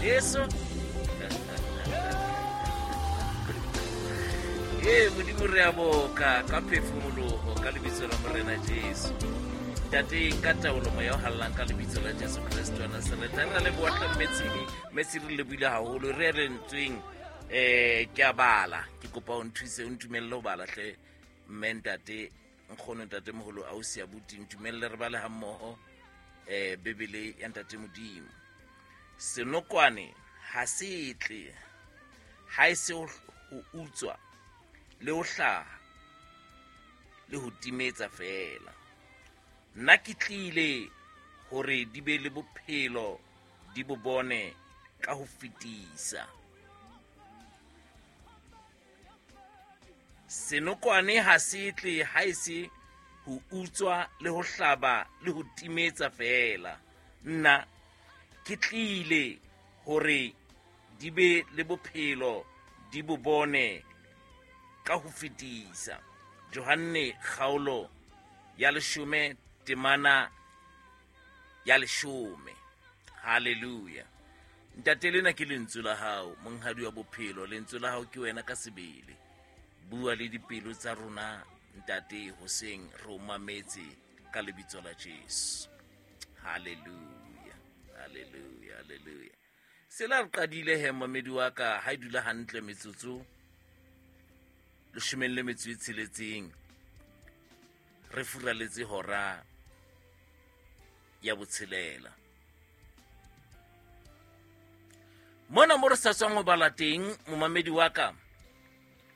Jesu. Ee, Modimo re a boka ka phefumologo ka lebitso la Morena Jesu. Ntate, ka taolo moya o hallang ka lebitso la Jesu Kreste wa Nasaretha. Re leboha hle Mmetsiri, Mmetsiri re lebohile haholo. Re lentsweng ke a bala, ke kopa o nthuse o ntumelle ho bala hle mme ntate nkgono ntate moholo ausi abuti ntumelle re bale hammoho Bibele ya ntate Modimo. Senokwane ha se tle ha e se ho utswa le ho hlaha le ho timetsa feela. Nna ke tlile hore di be le bophelo di bo bone ka ho fetisa. Senokwane ha se tle ha e se ho utswa le ho hlaba le ho timetsa feela. Nna ke tlile hore di be le bophelo di bo bone ka ho fetisa. Johanne kgaolo ya 10 temana ya 10. Hallelujah. Ntate, lena ke lentswe la hao, monghadi wa bophelo. Lentswe la hao ke wena ka sebele. Bua le dipelo tsa rona, ntate, hoseng re o mametse ka lebitso la Jesu. Hallelujah, hallelujah, hallelujah. Sela re qadile he mamedi wa ka, ha e dula hantle metsotso 16 re furaletse hora ya botshelela. Mona mo re sa tswang ho bala teng, momamedi wa ka,